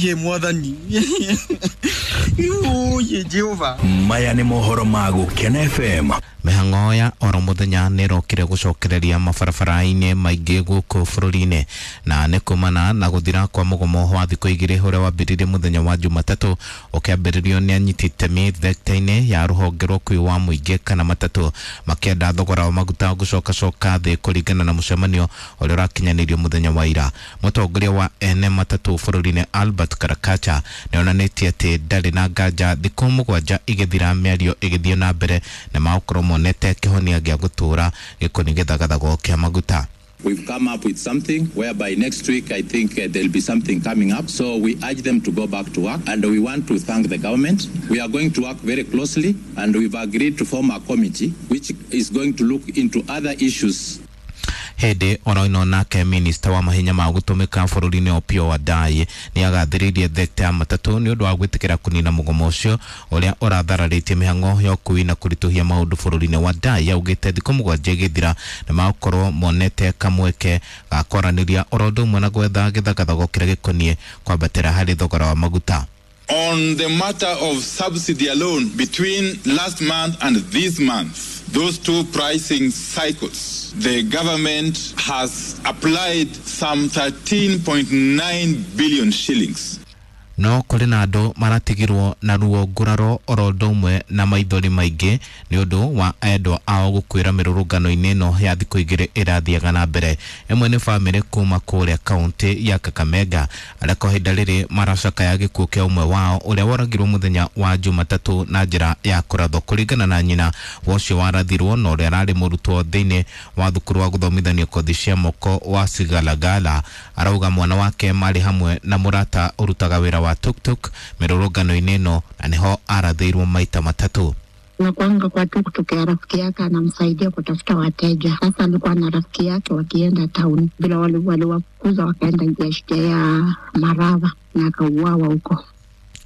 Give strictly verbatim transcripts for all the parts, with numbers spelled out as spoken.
Ũiye mwathani. Ũiye Jehova. Maya nĩ mohoro ma Gũkena F M. Mĩhang'o ya oro mũthenya nĩ ĩrokire gũcokereria mabarabara-inĩ maingĩ gũkũ bũrũri-inĩ na nĩ kumana na gũthira kwa mũgomo wa thikũ igĩrĩ ũrĩa wambĩrĩirie mũthenya wa Jumatatũ ũkĩambĩrĩrio nĩ anyiti itemi thekta-inĩ ya rũhonge rwa ũkuui wa mũingĩ kana matatũ makĩenda thogora wa maguta gũcokacoka thĩ kũringana na mũcemanio ũrĩa ũrakinyanĩirio mũthenya wa ira. Mũtongoria wa ene matatũ bũrũri-inĩ Albert Karakacha nĩonanĩtie atĩ ndarĩ na nganja thikũ mũgwanja igĩthira mĩario ĩgĩthiĩ na mbere na magũkorwo monete kĩhonia gĩa gũtũũra gĩkoni gĩthagathago kĩa maguta. We've come up with something whereby next week I think uh, there'll be something coming up. So we urge them to go back to work, and we want to thank the government. We are going to work very closely, and we've agreed to form a committee which is going to look into other issues. Hĩndĩ oro ĩno nake minista wa mahinya ma gũtũmĩka bũrũri-inĩ Opiyo Wandayi nĩ agathĩrĩirie thekta ya matatũ nĩ ũndũ wa gwĩtĩkĩra kũnina mũgomo ũcio ũrĩa ũrathararĩtie mĩhang'o ya ũkuui na kũritũhia maũndũ bũrũri-inĩ. Wandayi augĩte thikũ mũgwanja igĩthira nĩ magũkorwo monete kamweke ga kwaranĩria oro ũndũ ũmwe na gwetha gĩthagathago kĩrĩa gĩkoniĩ kwambatĩra harĩ thogora wa maguta. On the matter of subsidy alone, between last month and this month, those two pricing cycles, the government has applied some thirteen point nine billion shillings. No kũrĩ na andũ maratigirwo na ruo nguraro oro ũndũ ũmwe na maithori maingĩ nĩ ũndũ wa endwa ao gũkuĩra mĩrũrũngano-inĩ ĩno ya thikũ igĩrĩ ĩrathiaga na mbere. Ĩmwe nĩ bamĩrĩ kuma kũrĩa kaũntĩ ya Kakamega arĩa kwa ihinda rĩrĩ maracakaya gĩkuũ kĩa ũmwe wao ũrĩa woragirwo mũthenya wa Jumatatũ na njĩra ya kũrathwo. Kũringana na nyina wa ũcio warathirwo na ũrĩa ararĩ mũrutwo thĩinĩ wa thukuru wa gũthomithania kothi cia moko wa Sigalagala, arauga mwana wake marĩ hamwe na mũrata ũrutaga wĩra wa tuk-tuk mĩrũrũngano-inĩ ĩno na nĩho arathĩirwo maita matatũ. Nakuanga kwa tuk-tuk ya rafiki yake anamsaidia kutafuta wateja. Sasa alikuwa na rafiki yake wakienda town, bila waliwafukuza wakaenda njia ya Marava na akauawa huko.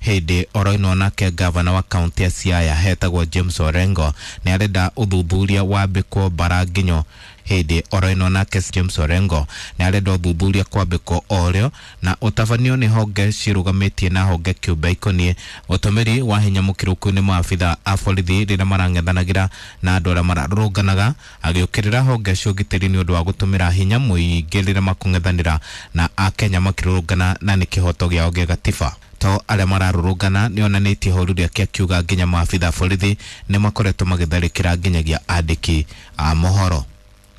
Hĩndĩ oro ĩno nake gavana wa kaunti ya Siaya hetagwo James Orengo nĩ arenda ũthuthuria wambĩkwo bara nginyo. Hĩndĩ oro ĩno nake James Orengo nĩ arenda ũthuthuria kwambĩkwo orĩo na ũtabanio nĩ honge cirũgamĩtie na honge kĩũmbe ikoniĩ ũtũmĩri wa hinya mũkĩrũku nĩ maabitha a borithi rĩrĩa marang'ethanagĩra na andũ arĩa mararũrũnganaga, agĩũkĩrĩra honge cia ũgitĩri nĩ ũndũ wa gũtũmĩra hinya mũingĩ rĩrĩa makũng'ethanĩra na akenya makĩrũrũngana na nĩ kĩhoto gĩao gĩa gatiba. To arĩa mararũrũngana nĩ onanĩtie ihoru rĩake akiuga nginya maabitha a borithi nĩ makoretwo magĩtharĩkĩra nginyagia andĩki a mohoro.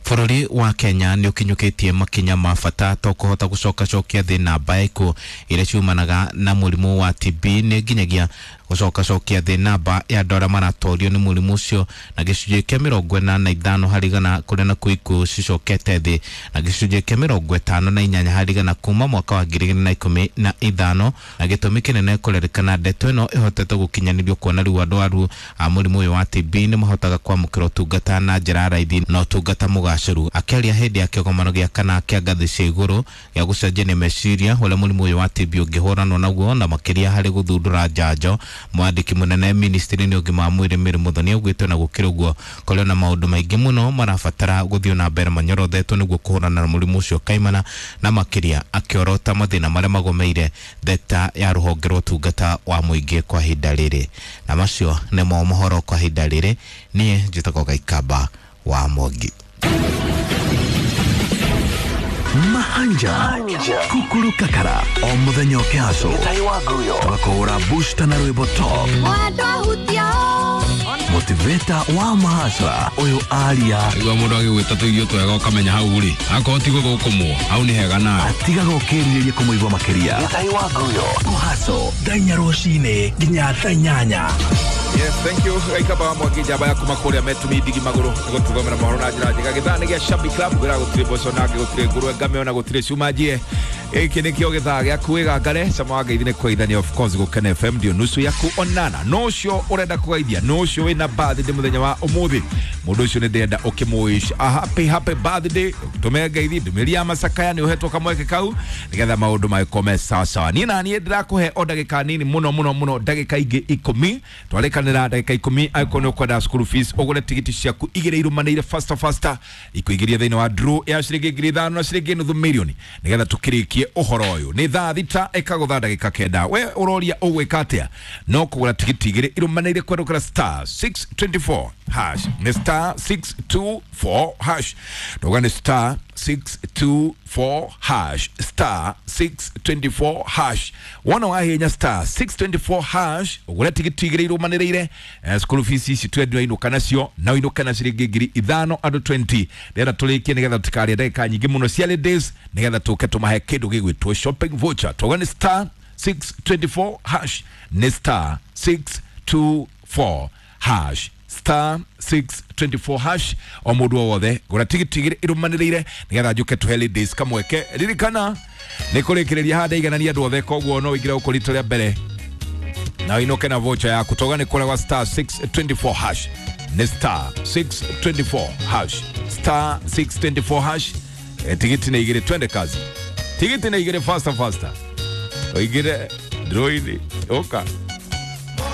Bũrũri wa Kenya nĩ ũkinyũkĩtie makinya ma bata to kũhota gũcokacokia thĩ namba ya ikuũ iria ciumanaga na mũrimũ wa T B nĩ nginyagia gũcokacokia thĩ namba ya andũ arĩa maratorio nĩ mũrimũ ũcio na gĩcunjĩ kĩa mĩrongo ĩna na ithano harĩ igana kũrĩa nakuo ikuũ cicokete thĩ na gĩcunjĩ kĩa mĩrongo ĩtano na inyanya harĩ igana kuma mwaka wa ngiri igĩrĩ na ikũmi na ithano, na gĩtũmi kĩnene kũrerĩkana ndeto ĩno ĩhotete gũkinyanĩrio kuona rĩu andũ arwaru a mũrimũ ũyũ wa T B nĩ mahotaga kwamũkĩra ũtungata na njĩra ya raithi na ũtungata mũgacĩru. Akĩaria hĩndĩ ya kĩgomano gĩa kana kĩa ngathĩ cia igũrũ gĩa gũcenjania meciria ũrĩa mũrimũ ũyũ wa T B ũngĩhũranwo naguo na makĩria harĩ gũthundũra njanjo, mwandĩki mũnene ministry-inĩ ũgima wa mwĩrĩ Mary Muthoni augĩte ona gũkĩrĩ ũguo kũrĩ na maũndũ maingĩ mũno marabatara gũthiĩ na mbere manyorothetwo nĩguo kũhũrana na mũrimũ ũcio kaimana, na makĩria akĩorota mathĩna marĩa magomeire thekta ya rũhonge rwa ũtungata wa mũingĩ kwa ihinda rĩrĩ. Na macio nĩmo mohoro kwa ihinda rĩrĩ. Niĩ njĩtagwo Gaikamba wa Mwangi. Mahanja Kukuru Kakara o muthenya ũkĩhaco tũgakũhũra booster na rwĩmbo top motivator wa mahasra ũyũ aria igua mũndũ agĩgwĩta tũirio twega ũkamenya hau rĩ akorwo ti gũthũkũmwo hau nĩ hega nawe atigaga ũkĩrirĩria kũmũigua makĩria kũhaco thaa inya rũcinĩ nginya thaa inyanya. Yes, thank you. Gaikamba Mwangi njamba ya kuma kũrĩa metumi ndigi magũrũ nĩgũtũthomera mohoro na njĩra njega. Gĩthaa nĩ gĩa Shabby Club ngwĩra gũtirĩ mboco na gũtirĩ ngũrwe ngame ona gũtirĩ cuma njie. Gĩkĩ nĩkĩo gĩthaa gĩaku wĩgangare cama wa ngeithi nĩ kũgeithania of course Gũkena F M ndio nusu yaku onana. No ũcio ũrenda kũgeithia, no ũcio wĩna birthday mũthenya wa ũmũthĩ, mũndũ ũcio nĩ ndĩrenda ũkĩmũwish a happy happy birthday. Tũme ngeithi ndũmĩrĩri ya macakaya nĩ ũhetwo kamweke kau nĩgetha maũndũ magĩkorwo me sawa sawa. Niĩ na niĩ ndĩrakũhe o ndagĩka nini mũno mũno mũno, ndagĩka ingĩ ikũmi twarĩkanĩra ndagĩka ikũmi. Angĩkorwo nĩ ũkwenda school fees ũgũre tigiti ciaku igĩrĩ irũmanĩire faster faster ikuingĩria thĩinĩ wa draw ya ciringi ngiri ithano na ciringi nuthu mirioni nĩgetha tũkĩrĩkie wĩgiĩ ũhoro ũyũ. Nĩ thaa thita ĩkagũtha ndagĩka kenda. We ũroria ũgwĩka atĩa? No kũgũra tigiti igĩrĩ irũmanĩrĩire kwerũkĩra star six twenty four hash. Nĩ star six two four hash. Ndauga nĩ star six two four hash, star six twenty four hash. Wona wahinya star six twenty four hash ũgũre tigiti igĩrĩ irũmanĩrĩire. Eh, school fees ici twendio inũka nacio na ũinũke na ciringi ngiri ithano andũ twenty. Ndĩrenda tũrĩkie nĩgetha tũtikarĩe ndagĩka nyingĩ mũno cia ladies, nĩgetha tũke tũmahe kĩndũ gĩgwĩtwo shopping voucher. Twauga nĩ star six twenty four hash, nĩ star six two four hash, star six twenty four hash. O mũndũ o wothe gũra tigiti igĩrĩ irũmanĩrĩire nĩgetha njũke tũhe ladies kamweke. Ririkana nĩ kũrĩkĩrĩria haha ndaiganania andũ othe, koguo no ũingĩre gũkũ rita rĩa mbere na ũinũke na voucher yaku. Toga nĩ kũrĩa gwa star six twenty four hash, nĩ star six twenty four hash, star six twenty four hash. E, tigiti nĩ igĩrĩ, twende kazi. Tigiti nĩ igĩrĩ, faster faster, ũingĩre ndroini ũka.